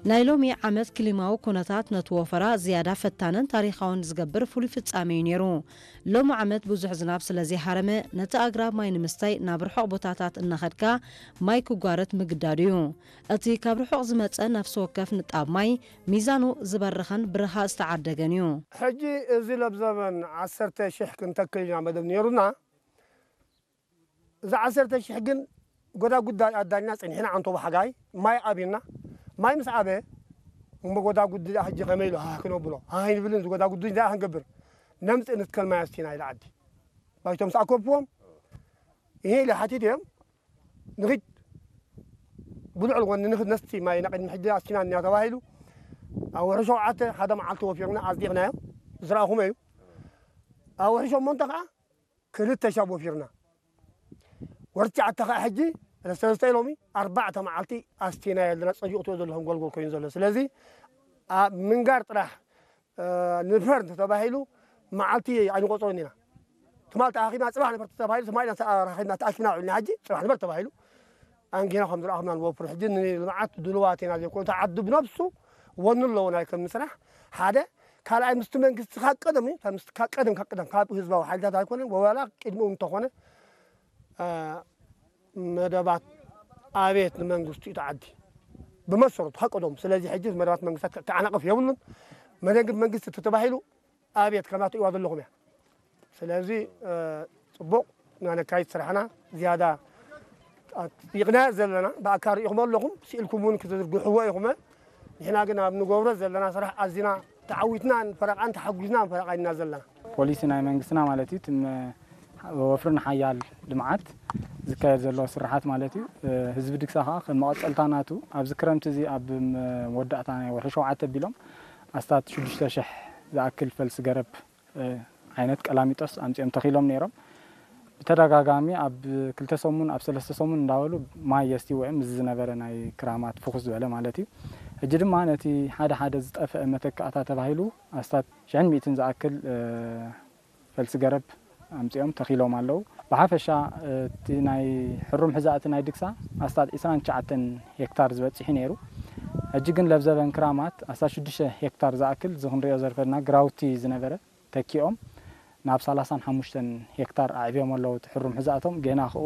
ናይ ሎሚ ዓመት ክሊማዊ ኩነታት ነቲ ወፈራ ዝያዳ ፈታንን ታሪኻውን ዝገብር ፍሉይ ፍጻሜ እዩ ነይሩ። ሎሚ ዓመት ብዙሕ ዝናብ ስለ ዘይሃረመ፣ ነቲ ኣግራብ ማይ ንምስታይ ናብ ርሑቕ ቦታታት እናኸድካ ማይ ክጓረት ምግዳዱ እዩ። እቲ ካብ ርሑቕ ዝመጸ ነፍሲ ወከፍ ንጣብ ማይ፣ ሚዛኑ ዝበረኸን ብርሃ ዝተዓደገን እዩ። ሕጂ እዚ ለብዘበን ዓሰርተ ሽሕ ክንተክል ኢና መደብ ነይሩና። እዛ ዓሰርተ ሽሕ ግን ጎዳጉዳ ኣዳሊና ጸኒሕና፣ ዓንተቦ ሓጋይ ማይ ኣብዩና። ማይ ምስ ኣበ፣ እሞ ጎዳጉዲ ደኣ ሕጂ ከመይ ኢሉ ሃህ ክነብሎ? ሃህ ኣይንብልን፣ እዚ ጎዳጉዲ ደኣ ክንገብር። ነምጽእ ንትከል ማይ ኣስቲና ኢለ ዓዲ። ባይቶም ምስ ኣኮብዎም፣ ይሄ ኢለ ሓቲተዮም፣ ንኺድ ብልዑል ጎኒ ንኺድ ነስቲ ማይ፣ ንቕድሚ ሕጂ ኣስቲና እኒኣ ተባሂሉ። ኣብ ወርሒ ሸውዓተ ሓደ መዓልቲ ወፊርና ኣጽዲቕናዮ። ዝረኣኹሞ እዩ። ኣብ ወርሒ ሸሞንተ ከዓ ክልተ ሻብ ወፊርና። ወርሒ ትሽዓተ ከዓ ሕጂ፣ ሰለስተ ሎሚ ኣርባዕተ መዓልቲ ኣስቲና የለና፣ ጸጊቑ ትወ ዘለኹም ጎልጎል ኮይኑ ዘሎ። ስለዚ ኣብ ምንጋር ጥራሕ፣ እ፣ ንፈር እንተተባሂሉ መዓልቲ ኣይንቆጽሮን ኢና። ትማል ተኣኺብና ጽባሕ ንፈር ተባሂሉ፣ ትማል ኢና ተኣ-፣ ተኣኪብና ውዒልና። ሕጂ ጽባሕ ንፈር ተባሂሉ ኣንጊና ከም ዝረኣኹምና ንወፍር። ሕጂ ንልምዓት ድሉዋት ኢና ዘይኮኑ፣ እቲ ዓዲ ብነብሱ ወኑ ኣለዎ ናይ ከም ምስራሕ ሓደ። ካልኣይ ምስቲ መንግስቲ ካብ ቀደም እዩ፣ ካብ ምስቲ ካብ ቀደም፣ ካብ ቀደም ካብ ህዝባዊ ሓይልታት ኣይኮነን፣ ወላ ቅድሚኡ እንተኾነ፣ እ፣ መደባት ኣቤት ንመንግስቲ እዩ እቲ ዓዲ ብመሰረቱ ካብ ቀደሙ። ስለዚ ሕጂ መደባት መንግስታት ክተዓናቐፍ የብሉን። መደንግብ መንግስቲ ተተባሂሉ ኣቤት ከምዛ ትሪእዋ ዘለኹም እያ። ስለዚ፣ እ፣ ጽቡቕ ኢና ነካይድ ስራሕና፣ ዝያዳ ኣጥቢቕና ዘለና። ብኣካል ርኢኹም ኣለኹም፣ ስኢልኩም እውን ክትዝርግሕዎ ኢኹም። ንሕና ግን ኣብ ንገብሮ ዘለና ስራሕ ኣዚና ተዓዊትና፣ ፈረቓን ተሓጒስና ፈረቓ ኢና ዘለና። ፖሊሲ ናይ መንግስትና ማለት እዩ፣ እቲ መ-፣ ወፍርን ሓያል ልምዓት ዝካየድ ዘሎ ስራሓት ማለት እዩ። እ፣ ህዝቢ ድግሳ ከዓ ከም መቐጸልታ ናቱ ኣብዚ ክረምቲ እዚ ኣብ መወዳእታ ናይ ወርሒ ሸውዓተ ኣቢሎም ኣስታት ሽዱሽተ ሽሕ ዝኣክል ፈልሲ ገረብ፣ እ፣ ዓይነት ቀላሚጦስ ኣምጺኦም ተኺሎም ነይሮም። ብተደጋጋሚ ኣብ ክልተ ሰሙን፣ ኣብ ሰለስተ ሰሙን እንዳበሉ ማይ የስትይዎ እዮም። እዚ ዝነበረ ናይ ክራማት ፍኹስ ዝበለ ማለት እዩ። ሕጂ ድማ ነቲ ሓደ ሓደ ዝጠፍአ መተካእታ ተባሂሉ ኣስታት ሽሕን ሚእትን ዝኣክል፣ እ፣ ፈልሲ ገረብ ኣምጺኦም ተኺሎም ኣለዉ። ብሓፈሻ፣ እ፣ እቲ ናይ ሕሩም ሕዛእቲ ናይ ድግሳ ኣስታት ዒስራን ትሽዓተን ሄክታር ዝበጺሕ እዩ ነይሩ። ሕጂ ግን ለብዘበን ክራማት ኣስታት ሽዱሽተ ሄክታር ዝኣክል፣ እዚ ክንሪኦ ዘርፈድና ግራውቲ ዝነበረ ተኪኦም ናብ ሰላሳን ሓሙሽተን ሄክታር ኣዕብዮም ኣለዉ። እቲ ሕሩም ሕዛእቶም ገና ክቕጽ